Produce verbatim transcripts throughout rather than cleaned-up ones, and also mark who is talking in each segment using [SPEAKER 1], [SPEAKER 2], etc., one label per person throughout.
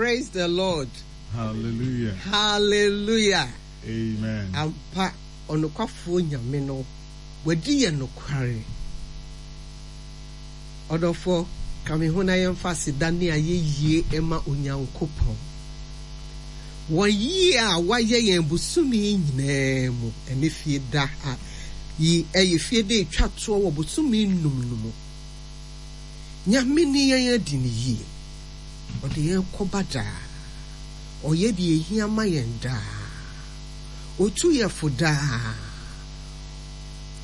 [SPEAKER 1] Praise the Lord.
[SPEAKER 2] Hallelujah.
[SPEAKER 1] Hallelujah.
[SPEAKER 2] Amen.
[SPEAKER 1] Ampa, ɔnokwafoɔ Nyame no, wadi yɛn nokware. Ɔdɔfoɔ, ka me ho na yɛmfa aseda ne ayɛyie ma Onyankopɔn. Wɔ yie a wayɛ yɛn bosome yi nyinaa mu, ɛne fie da a yi ɛyɛ fie da etwa toɔ wɔ bosome nnum no mu. Nyame ne yɛn adi ne yie. Ɔde yɛn kɔba daa. Ɔyɛ deɛ ehia ma yɛn daa. Otu yɛn fo daa.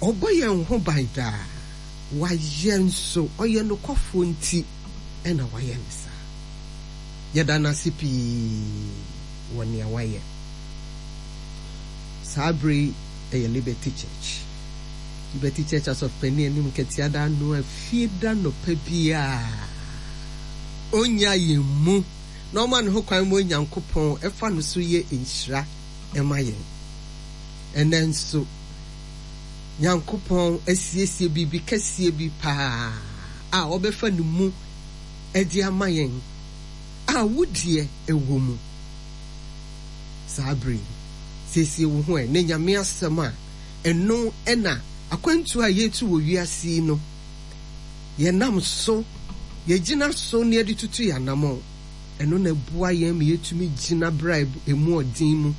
[SPEAKER 1] Ɔbɔ yɛn ho ban daa. Wayɛ nso, ɔyɛ nokwafoɔ nti ɛna wayɛ ne saa. Yɛda n'ase pii wɔ nea wayɛ. Saa bere yi ɛyɛ Liberty Church. Liberty Church asɔfopanin anim nketewa da ano a fie da nnɔpa biara. Onya yɛn mu na ɔma ne ho kwan ma Onyankopɔn ɛfa no so yɛ nhyira ɛma yɛn. Ɛnɛ nso, Nyankopɔn asiesie biribi kɛseɛ bi paa a ɔbɛfa ne mu ɛde ama yɛn a wodeɛ ɛwɔ mu. Saa bere yi, siesie wo ho ɛ ne Nyame asɛm a ɛno ɛna akwantuo a yɛtu wɔ wiase yi no, yɛnam so, yɛgyina so ne yɛde tutu yɛn anammɔn. Ɛno na ɛboa yɛn ma yɛtumi gyina berɛ a emu ɔden mu.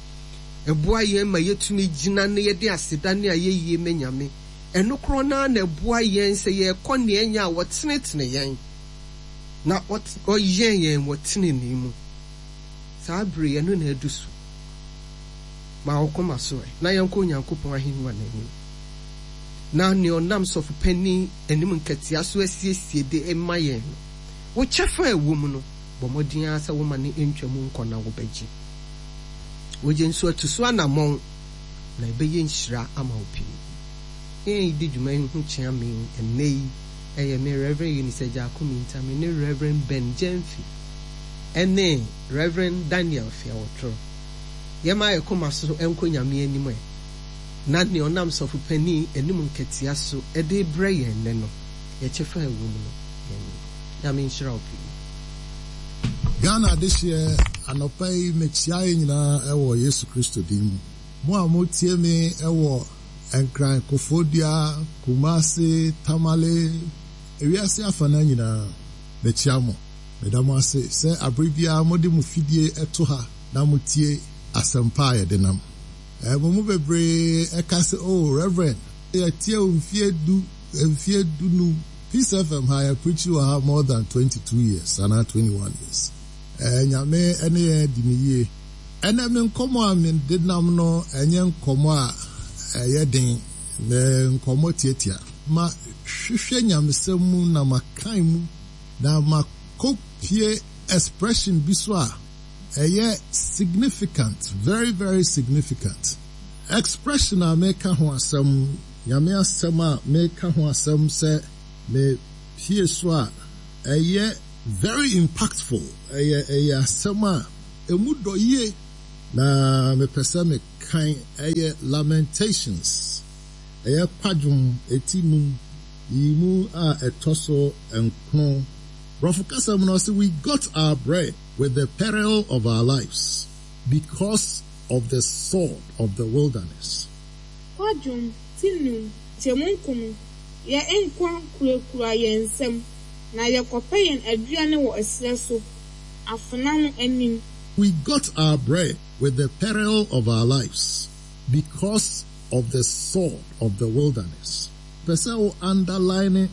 [SPEAKER 1] Ɛboa yɛn ma yɛtumi gyina na yɛde aseda ne ayɛyie ma Nyame. Ɛno korɔ naa na ɛboa yɛn sɛ yɛrekɔ nea ɛnyɛ a wɔtenetene yɛn na ɔyɛn yɛn wɔ tenenee mu. Saa bere ɛno na ɛdu so. Ma wo koma so ɛ na yɛnkɔ Onyankopɔn ahengua n'anim. Na nea ɔnam sɔfopanin anim nketewa so asiesie de ma yɛn no, wo kyɛfa a ɛwɔ mu no, bɔ mmɔden ara sɛ woma ne ntwa mu nkɔ na wobɛgye. Wogye nso atu so anammɔn na ɛbɛyɛ nhyira ama wo pii. Yɛn di dwuma yi ho kyea me ɛnnɛ yi ɛyɛ me Reverend Eunice Agyaako Minta, me ne Reverend Ben Gyamfi ɛne Reverend Daniel Fiawotoro. Yɛma yɛ koma so nkɔ Nyame anim ɛ na nea ɔnam sɔfopanin anim nketewa so ɛde brɛ yɛn nnɛ no, yɛkyɛfa a ɛwɔ mu no, yɛn Nyame nhyira wo pii.
[SPEAKER 3] Ghana adehyeɛ anɔpa yi mekyia yɛn nyinaa ɛwɔ Yesu Kristo din mu. Mo a motie me ɛwɔ Nkran, Koforidua, Kumasi, Tamale, ewiase afana nyinaa, mekyia mo. Meda mo ase sɛ abere biara mode mo fidie ɛto ha na motie asɛmpa a yɛde nam. Ɛɛ mo mu bebree ɛka sɛ, "Oh, Reverend, yɛtie wo mfie du, mfie du num." Peace F M ha yɛ preach wɔ ha more than twenty-two years, anaa twenty-one years. Ɛɛ Nyame ɛne yɛn di ne yie. Ɛnɛ me nkɔmmɔ a mede nam no ɛnyɛ nkɔmmɔ a ɛyɛ den, na nkɔmmɔ tiatia. Ma hwehwɛ nyamesɛm mu na ma kan mu na ma kɔpie expression bi so a ɛyɛ significant, very very significant. Expression a meka ho asɛm, Nyame asɛm a meka ho asɛm sɛ me pie so a ɛyɛ very impactful, ɛyɛ ɛyɛ asɛm a emu dɔ yie na mepɛ sɛ mekan ɛyɛ Lamentations, ɛyɛ kwadwom eti num yi mu a ɛtɔ so nkron. Borɔfo kasa mu no ɔse, "We got our bread with the peril of our lives because of the sword of the wilderness."
[SPEAKER 4] Kwadwom ti num kyɛmu nkron, yɛn nkwa kurakura yɛn nsam na yɛkɔpɛ yɛn aduane wɔ ɛserɛ so afena no anim.
[SPEAKER 3] We got our bread with the peril of our lives because of the sword of the wilderness. Pɛ sɛ wo underline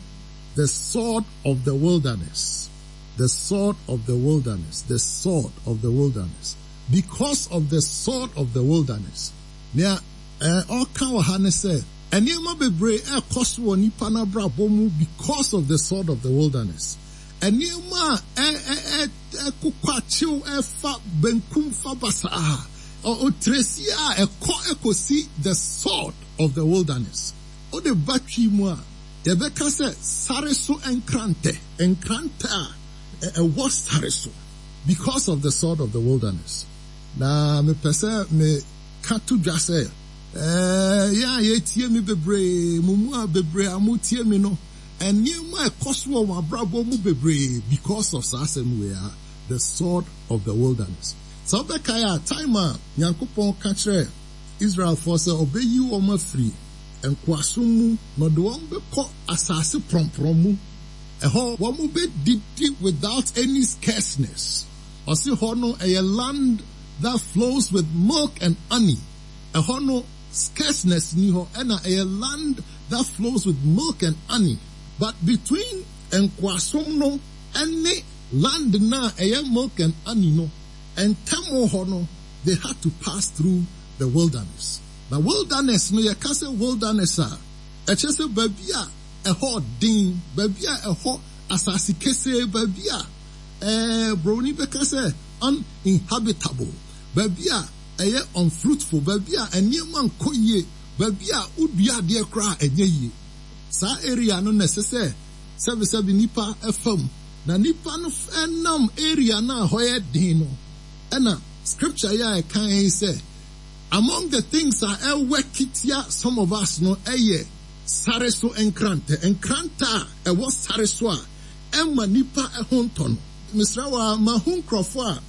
[SPEAKER 3] the sword of the wilderness. The sword of the wilderness. The sword of the wilderness. Because of the sword of the wilderness. Nea ɔka wɔ ha ne sɛ, nneɛma bebree ɛkɔ so wɔ nipa n'abrabɔ mu because of the sword of the wilderness. Nneɛma a ɛ ɛ ɛkokɔ akyew ɛfa benkum fa basaa. Ɔtresi a ɛkɔ ɛkɔsi the sword of the wilderness. Ɔde ba twi mu a, yɛbɛka sɛ sare so nkrantɛ, nkrantɛ a ɛwɔ sare so because of the sword of the wilderness. Na mepɛ sɛ meka to dwa sɛ, ɛɛ yɛn a yɛtie mi bebree, mo mu a bebree a motie mi no, nneɛma a ɛkɔ so wɔ wɔn abrabɔ mu bebree because of saa asɛm wei a The sword of the wilderness. Sɛ wobɛkae a, time a Nyankopɔn ka kyerɛ Israelfoɔ sɛ ɔbɛyi wɔn afiri nkoasom mu na ɔde wɔn bɛkɔ asase prɔmprɔm mu. Ɛhɔ wɔn bɛdidi without any scarceness. Ɔse hɔ no ɛyɛ land that flows with milk and honey. Ɛhɔ no scarceness ni hɔ, ɛna ɛyɛ land that flows with milk and honey. But between nkoasom no ɛne land na ɛyɛ milk and honey no, ntam hɔ no, they had to pass through the wilderness. Na wilderness no, yɛka sɛ wilderness a, ɛkyerɛ sɛ baabi a ɛhɔ den, baabi a ɛhɔ asase kesee, baabi a ɛɛ broni bɛka sɛ uninhabitable, baabi a ɛyɛ unfruitful, baabi a nneɛma nkɔ yie, baabi a wodua adeɛ koraa ɛnyɛ yie. Saa area no na ɛsɛ sɛ sɛbisɛbi nipa ɛfam, na nipa no ɛnam area no a hɔ yɛ den no, ɛna scripture yɛ a ɛka yi sɛ among the things a ɛwɔ kitia some of us no ɛyɛ sare so nkrantɛ, nkrantɛ a ɛwɔ sare so a ɛma nipa ɛho ntɔ no. Mesrɛ wa, mahu nkurɔfoɔ a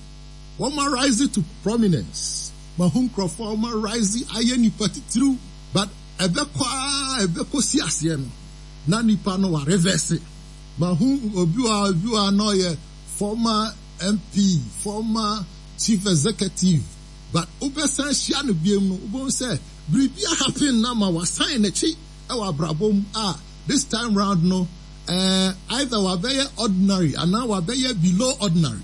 [SPEAKER 3] wɔn arise to prominence, mahu nkurɔfoɔ a wɔn arise ayɛ nipa titiriw, but ɛbɛkɔ a ɛbɛkɔ si aseɛ no na nipa no wa reverse. Mahu obi wa obi wa na ɔyɛ former M P, former chief executive, but wobɛsan hyia no biem no, wobɛhu sɛ biribi happen na ma wasan n'akyi ɛwɔ abrabɔ mu a this time round no, uh, either wabɛyɛ ordinary anaa wabɛyɛ below ordinary.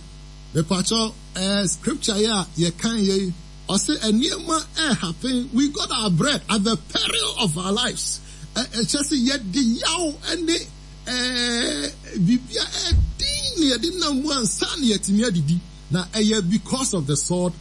[SPEAKER 3] Mepakyɛw, uh, scripture yɛ a yɛkan yɛ yi, ɔsɛ nneɛma ɛ happen, we got our bread at the peril of our lives. Ɛkyɛ sɛ yɛde yaw ɛne ɛɛ biribi a ɛdin na yɛde nam mu ansa na yɛtumi adidi, na ɛyɛ because of the sword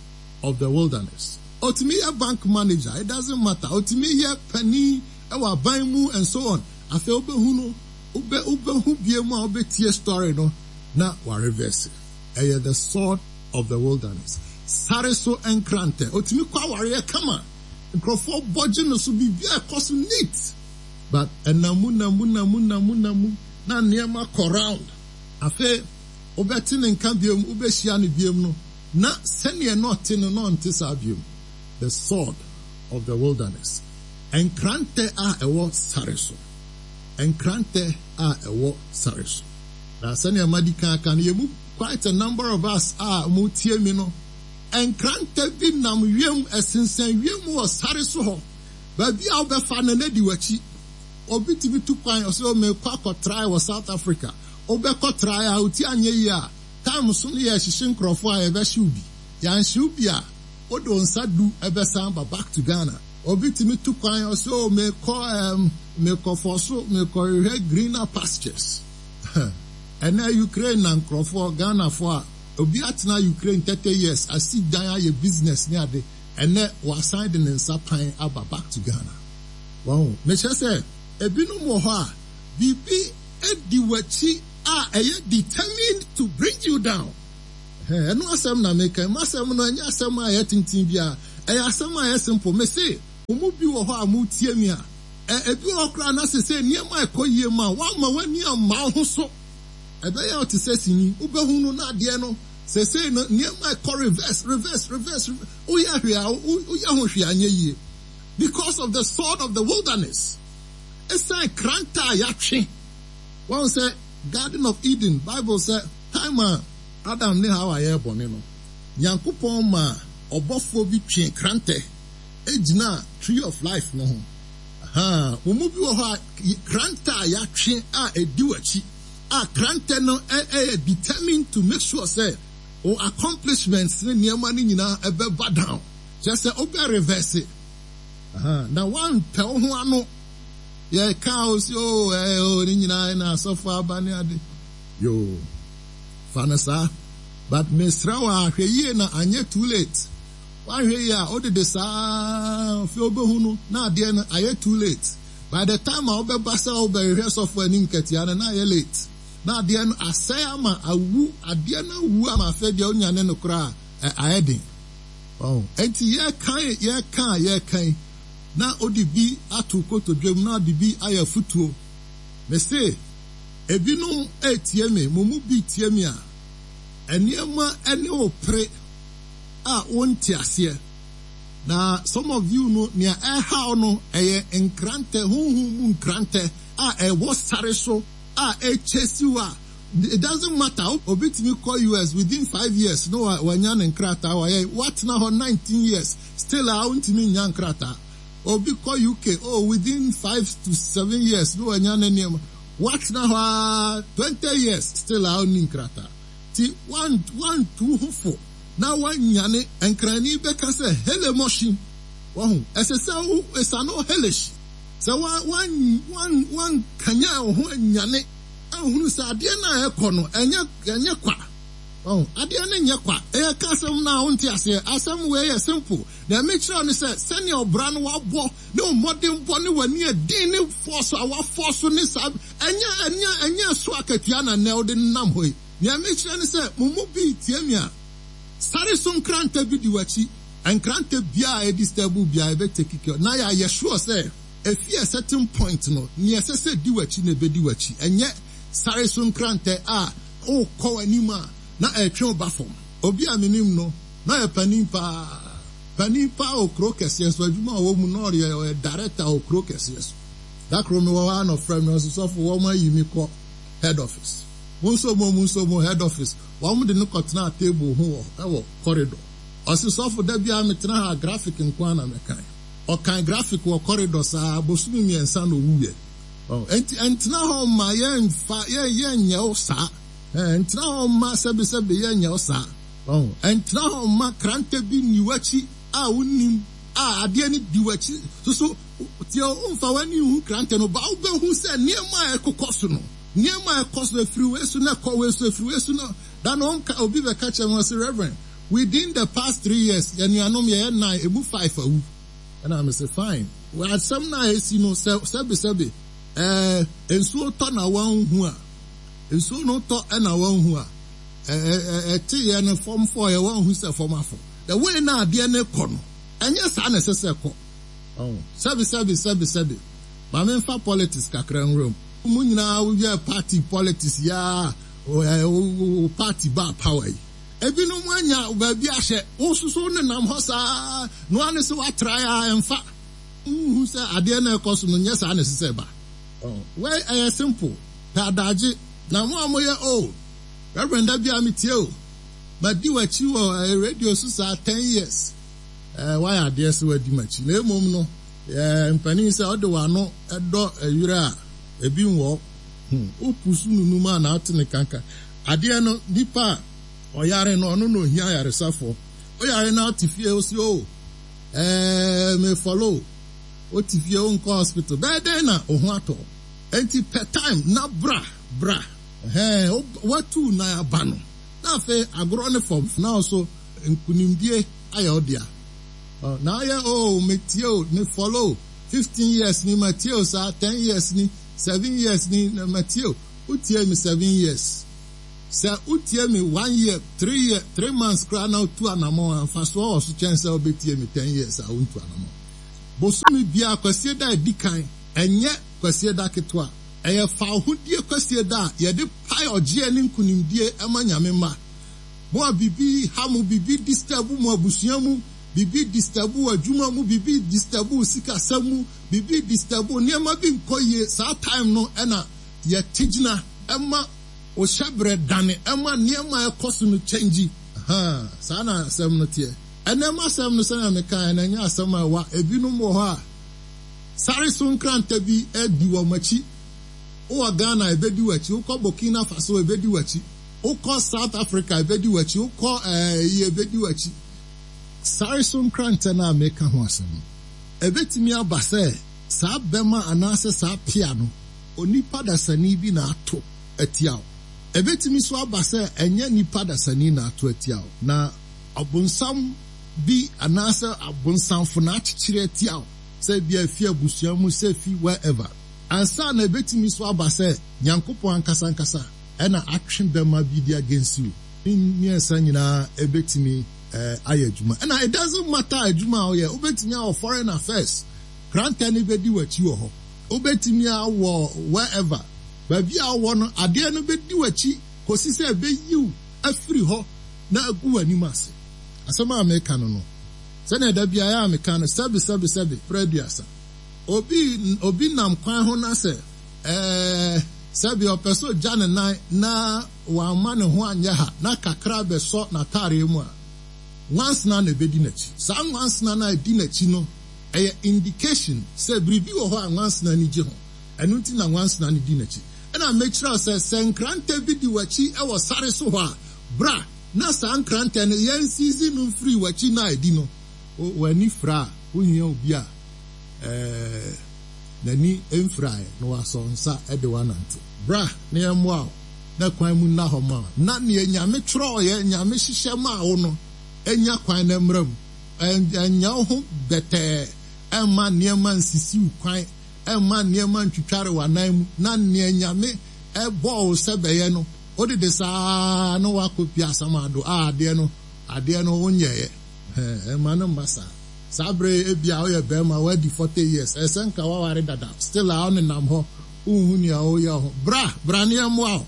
[SPEAKER 3] of the wilderness. Otumi yɛ bank manager, it doesn't matter. Otumi yɛ panin ɛwɔ aban mu and so on. Afei wobɛhu no, wobɛ wobɛhu bie mu a wobɛtie story no na wa reverse. Ɛyɛ the sword of the wilderness. Sare so nkrantɛ. Otumi kɔ awareɛ kama. Nkurɔfoɔ bɔgye no so, biribi a ɛkɔ so neat. But ɛnamu namu namu namu namu na nneɛma kɔ round. Afei wobɛte ne nka biom, wobɛhyia no biom no, na sɛnea na ɔte no na ɔnte saa biom. The sword of the wilderness. Nkrantɛ a ɛwɔ sare so. Nkrantɛ a ɛwɔ sare so. Na sɛnea madi kan aka no, yɛn mu quite a number of us a mo tie mi no, nkrantɛ bi nam wiem, ɛsensɛn wiem wɔ sare so hɔ. Baabi a wobɛfa no na di w'akyi. Obi tumi tu kwan ɔsɛ mekɔ akɔtrae wɔ South Africa. Wobɛkɔ trae a oti anyɛ yie a, time so no yɛ hyehyɛ nkurɔfoɔ a yɛbɛhyew bi. Yɛanhyew bi a, wode wo nsa du ɛbɛsan ba back to Ghana. Obi tumi tu kwan ɔsɛ o mekɔ ɛm mekɔ fɔ so mekɔhwehwɛ greener pastures. Ɛnɛ Ukraine na nkurɔfoɔ Ghanafoɔ a obi atena Ukraine thirty years asi dan ayɛ business ne ade, ɛnɛ wasan de ne nsa pan aba back to Ghana. Wɔn mehyɛ sɛ ebinom wɔ hɔ a biribi edi w'akyi a ɛyɛ determined to bring you down. Ɛno asɛm na meka. Mu asɛm no ɛnyɛ asɛm a ɛyɛ tenten biara, ɛyɛ asɛm a ɛyɛ simple. Mese wɔn mu bi wɔ hɔ a mo tie mi a, ɛ ebi wɔ hɔ koraa na sese nneɛma ɛkɔ yie mu a wama w'ani ama wo ho so. Ɛbɛyɛ ɔte sɛ sini wobɛhu no na adeɛ no sese no nneɛma ɛkɔ reverse, reverse, reverse. Woyɛ hwee a woyɛ ho hwee anyɛ yie because of the sword of the wilderness. Ɛsan kranta a yɛatwe wɔn sɛ Garden of Eden, Bible sɛ time a Adam ne Hawa yɛ bɔne no, Nyankopɔn ma ɔbɔfoɔ bi twe krantɛ egyina tree of life no ho. Wɔn mu bi wɔ hɔ a krantɛ a yɛatwe a edi w'akyi a krantɛ no ɛyɛ determined to make sure sɛ o accomplishments ne nneɛma no nyinaa ɛbɛba down, kyerɛ sɛ ɔbɛ reverse na wampɛ wo ho ano. Yɛka o si o ɛɛ o ne nyinaa na asɔfo aba ne ade yoo, fa no saa. But mesrɛ wo a, hwɛ yie na anyɛ too late. Wahwɛ yie a wodede saa afei wobɛhu no na adeɛ no ayɛ too late. By the time a wobɛba sɛ wobɛhwehwɛ sɔfo anim kɛtea no, na ayɛ late na adeɛ no asɛe ama awu, adeɛ no awu ama afei deɛ wonyane no koraa ayɛ den. Ɔn enti yɛkan yɛka a yɛkan na ɔde bi ato kotodwam na ɔde bi ayɛ futuo. Mese ebinom etie me, mo mu bi tie me a Nneɛma ne wo pere a wonte aseɛ. Na some of you no, nea ɛhaw no ɛyɛ nkrantɛ, honhom mu nkrantɛ a ɛwɔ sare so a ɛkyɛsi wo a it doesn't matter. Obi tumi kɔ U S within five years no wanya ne nkrataa, wayɛ watena hɔ nineteen years, still a wontumi nya nkrataa. Obi kɔ U K, oh, within five to seven years no wanya ne nneɛma. Watena hɔ a twenty years, still a ɔnni nkrataa. Ti wan wantu ho fo na wanyane nkrani bɛka sɛ hele mɔhyin wɔho ɛsɛ sɛ wo esano helesh sɛ wan wan wan wankanyan wo ho anyane ahunu sɛ adeɛ no a ɛkɔ no ɛnyɛ ɛnyɛ kwa. Ɔho adeɛ no nyɛ kwa. Ɛyɛ ka asɛm no a wonte aseɛ. Asɛm wei yɛ simple na ɛmekyerɛ no sɛ sɛnea ɔbra no wabɔ ne wo mmɔdenbɔ ne w'ani ɛden ne fɔɔ a wafɔ so ne saa ɛnyɛ ɛnyɛ ɛnyɛ so akatua na nnɛ wode nam hɔ yi. Nea mekyerɛ ne sɛ mo mu bi tie mi a, sare so nkrantɛ bi di w'akyi. Nkrantɛ biara a ɛdi step biara ɛbɛ take care na yɛayɛ sure sɛ efi a certain point no, nea ɛsɛ sɛ di w'akyi na ɛbɛdi w'akyi. Ɛnyɛ sare so nkrantɛ a ɔrekɔ w'anim a na ɛtwe wo ba fam. Obi a menim no na ɔyɛ panin paa, panin paa wɔ kuro kɛseɛ so. Adwuma a ɔwɔ mu na ɔyɛ ɔyɛ director wɔ kuro kɛseɛ so. Dakoro mi wɔ hɔ a na ɔfrɛ mi, ɔsɛ, "Sɔfo, wɔn ayi mi kɔ head office." Mo nso mo mo nso mo head office, wɔn de no kɔtena table ho wɔ ɛwɔ corridor. Ɔsɛ, "Sɔfo, da biara metena ha, graphic nko ara na mɛkan." Ɔkan graphic wɔ corridor saa bosomi mmiɛnsa na owuyɛ. Enti ɛntena hɔ ma yɛnfa yɛn yɛnyɛ wo saa. Ɛntena hɔ ma sɛbisɛbi yɛnyɛ wo saa. Ɛntena hɔ ma krantɛ bi ni w'akyi a wonim a adeɛ no di w'akyi soso. Tie, womfa w'ani hu krantɛ no ba, wobɛhu sɛ nneɛma a ɛkokɔ so no, nneɛma a ɛkɔ so efiri wei so na ɛkɔ wei so, efiri wei so na da na ɔnka. Obi bɛka kyerɛ me sɛ, "Reverend, within the past three years, yɛn nuanom yɛyɛ nine, emu five awu." Ɛna mese, "Fine." Asɛm na esi no sɛ sɛbisɛbi ɛɛ nsuo tɔ na wɔn hu a, nsuo no tɔ ɛna wɔn hu a ɛɛ ɛte yɛ no fam fɔ yɛ wɔn hu sɛ fam afɔ. The way na adeɛ no kɔ no, ɛnyɛ saa na ɛsɛ sɛ kɔ. Sɛbi sɛbi sɛbi sɛbi, maame, nfa politics kakra nwura mu. Mu nyinaa yɛ party politics yaa o, party ba power yi, ebinom anya baabi ahyɛ wososo ne nam hɔ saa noa ne sɛ watra a ɛmfa nhu sɛ adeɛ no ɛkɔ so no nyɛ saa na ɛsɛ sɛ ba. Wei ɛyɛ simple pɛ adagye na mo a moyɛ o, "Reverend, da bia metie o, madi w'akyi wɔ radio so saa ten years." ɛɛ wayɛ adeɛ sɛ wadi m'akyi, na emom no ɛɛ mpanin sɛ ɔde w'ano ɛdɔ ɛwerɛ a ebi nwɔ hmm wopusu nunum a na ate ne kanka. Adeɛ no, nipa a ɔyare no, ɔno na ohia ayaresafoɔ. Ɔyare na ɔte fie osi o, ɛɛ me follow, ɔte fie, ɔnkɔ hospital, bɛyɛ dɛn na ɔho atɔ? Nti pɛ time na bra bra. Ɛhɛn, watu nan aba no na afei agorɔ ne fam na ɔso nkunimdie ayɛ ɔdea na ayɛ o, metie o, me follow fifteen years ni, ma tie o saa ten years ni, seven years ni na ma tie o. Wotie mi seven years sɛ wotie mi one year, three year, three months koraa na otu anamɔ, mfasoɔ wɔ so kyɛn sɛ wobɛtie mi ten years a wontu anamɔ. Bosomi biara kwasie da edi kan, ɛnyɛ kwasie da ketewa, ɛyɛ fawohodie kwasie da a yɛde pae ɔgyeɛ ne nkunimdie ɛma Nyame mma. Mo a bibi ha mo, bibi disturb mo abusua mu, bibi disturb wɔ adwuma mu, bibi disturb wɔ sikasɛm mu, bibi disturb, nneɛma bi nkɔ yie, saa time no ɛna yɛte gyina ɛma ohyɛbrɛ dane, ɛma nneɛma a ɛkɔ so no kyɛngyi. Saa na asɛm no teɛ. Ɛnɛma asɛm no, sɛnea meka, ɛna ɛnyɛ asɛm a ɛwa. Ebinom wɔ hɔ a sare so nkranta bi adi wɔn akyi. Wowɔ Ghana, ebedi w'akyi. Wokɔ Burkina Faso, ebedi w'akyi. Wokɔ South Africa, ebedi w'akyi. Wokɔ ɛɛ ebedi w'akyi. Sare so nkrantɛ no a meka ho asɛm no, ebetumi aba sɛ saa bɛma anaasɛ saa pia no, onipa dasani bi na ato atia wo. Ebetumi so aba sɛ ɛnyɛ nipa dasani na ato atia wo, na ɔbonsam bi anaasɛ abonsamfo na akyekyere atia wo, sɛ ebi afi abusua mu, sɛ fi wherever. Ansa na ebetumi so aba sɛ Nyankopɔn ankasa ankasa ɛna atwe bɛma bi di against you. Ne mmiɛnsa nyinaa ebetumi ɛɛ ayɛ adwuma. Ɛna it doesn't matter adwuma a ɔyɛ. Wobetumi awɔ foreign affairs, krantɛ no bɛdi w'akyi wɔ hɔ. Wobetumi awɔ wherever, baabi a wɔwɔ no, adeɛ no bɛdi w'akyi kòsi sɛ ɛbɛyiw. afiri hɔ na agu w'anim ase. Asɛm a meka no no, sɛnea da biara a meka no, sɛbi sɛbi sɛbi prɛ aduasa. Obi obi nam kwan ho na sɛ ɛɛ sɛbi ɔpɛ sɛ ogya ne nan na wamma ne ho anyɛ ha na kakra bɛsɔ n'ataareɛ mu a, nwansena na ebedi n'akyi. Saa nwansena na edi n'akyi no, ɛyɛ indication sɛ biribi wɔ hɔ a nwansena ni gye ho. Ɛno nti na nwansena no di n'akyi. Ɛna mɛkyerɛ sɛ sɛ nkrantɛ bi di w'akyi ɛwɔ sare so hɔ a, bra na saa nkrantɛ no yɛnsisi no mfiri w'akyi na edi no. W'ani fira a, wohia obi a ɛɛ n'ani mfiraeɛ na wasɔ nsa de wanante. Bra na yɛmmoa wo na kwan mu nna hɔ ma wo. Na nea Nyame twerɛeɛ, Nyame hyehyɛ maa wo no, enya kwan na mmra mu. Ɛnyɛ wo ho bɛtɛɛ, ɛmma nneɛma nsisi wo kwan, ɛmma nneɛma ntwitware w'anan mu, na nea Nyame ɛbɔɔ wo sɛ bɛyɛ no, wodede saa na wakɔpia asamado a adeɛ no, adeɛ no wonyɛeɛ. Ɛmma no mma saa. Saa bere ebia woyɛ bɛrima wadi forty years, ɛsɛ nka waware dada, still a ɔnenam hɔ, wonhu nea woyɛ ho. Bra, bra ne yɛmmoa wo.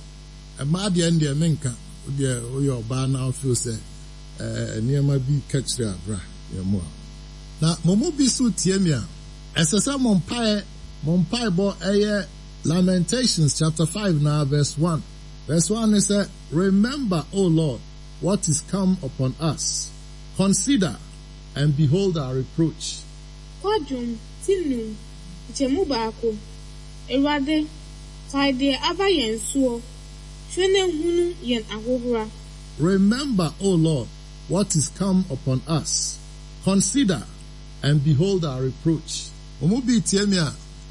[SPEAKER 3] Mmaa deɛ deɛ menka, deɛ woyɛ ɔbaa na wofeel sɛ ɛɛ nneɛma bi ka kyerɛ a, bra yɛmmoa wo. Na mo mu bi so tie me a, ɛsɛ sɛ mo mpaeɛ, mo mpaebɔ ɛyɛ Lamentations chapter five na verse one. Verse one ne sɛ, Remember, O Lord, what is come upon us. Consider and behold our reproach.
[SPEAKER 4] Kwadwom ti num, nkyɛmu baako. Awurade, kae deɛ aba yɛn soɔ, hwɛ na hunu yɛn ahohora.
[SPEAKER 3] Remember, O Lord, what is come upon us. Consider and behold our reproach. Mo mu bi tie me a,